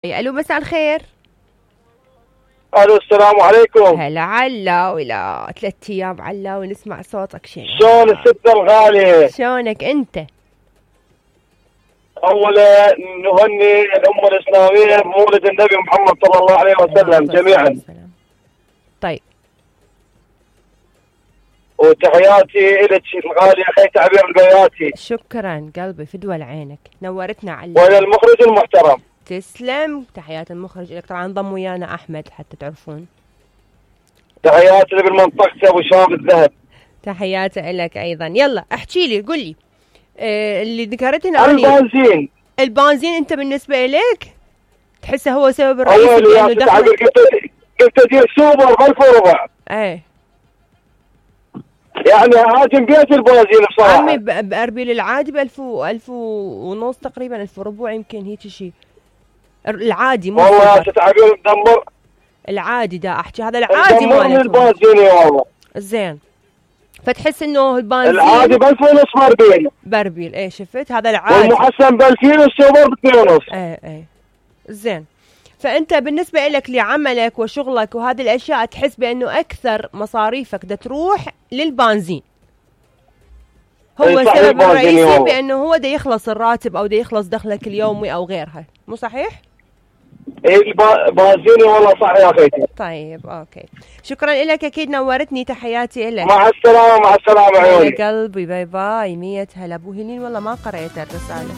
الو مساء الخير. الو السلام عليكم. هلا علاوي، 3 ايام علاوي نسمع صوتك. شلون الست الغالية؟ شلونك انت؟ اولا نهني الامة الاسلامية بمولد النبي محمد صلى الله عليه وسلم جميعا. طيب وتحياتي لك الغالية اخي تعبير البياتي. شكرا قلبي، فدوى لعينك، نورتنا علاوي. وإلى المخرج المحترم. تسلم، تحيات المخرج لك. طبعا انضم ويانا احمد حتى تعرفون. تحياتي بالمنطقة ابو شام الذهب. تحياتي لك ايضا. يلا احكي لي، قل لي اللي ذكرتنا البنزين انت بالنسبه لك تحسه هو سبب الرئيسي بانه دخل؟ قلت ادير سوبر ب 1004. ايه يعني هاجم بيت البنزين بصراحه. عمي باربيل العادي ب 1000 ونص تقريبا، 1000 وربع يمكن هيك شيء العادي. مو والله تعبير مدمر. العادي دا احكي، هذا العادي مال البنزين والله. زين، فتحس انه البنزين العادي ب 1000 ونص بربيل. ايه شفت، هذا العادي. والمحسن ب 2000 والسوبر ب 2 ونص. ايه زين. فانت بالنسبه لك لعملك وشغلك وهذه الاشياء تحس بانه اكثر مصاريفك دا تروح للبنزين، هو السبب الرئيسي بانه هو دا يخلص الراتب او دا يخلص دخلك اليومي او غيرها، مو صحيح؟ ايه بنزيني والله صح يا اخيتي. طيب اوكي، شكرا لك، اكيد نورتني، تحياتي لك. مع السلامه مع السلامه عيوني قلبي، باي باي. 100 هلا ابو هلين، والله ما قرأت الرساله.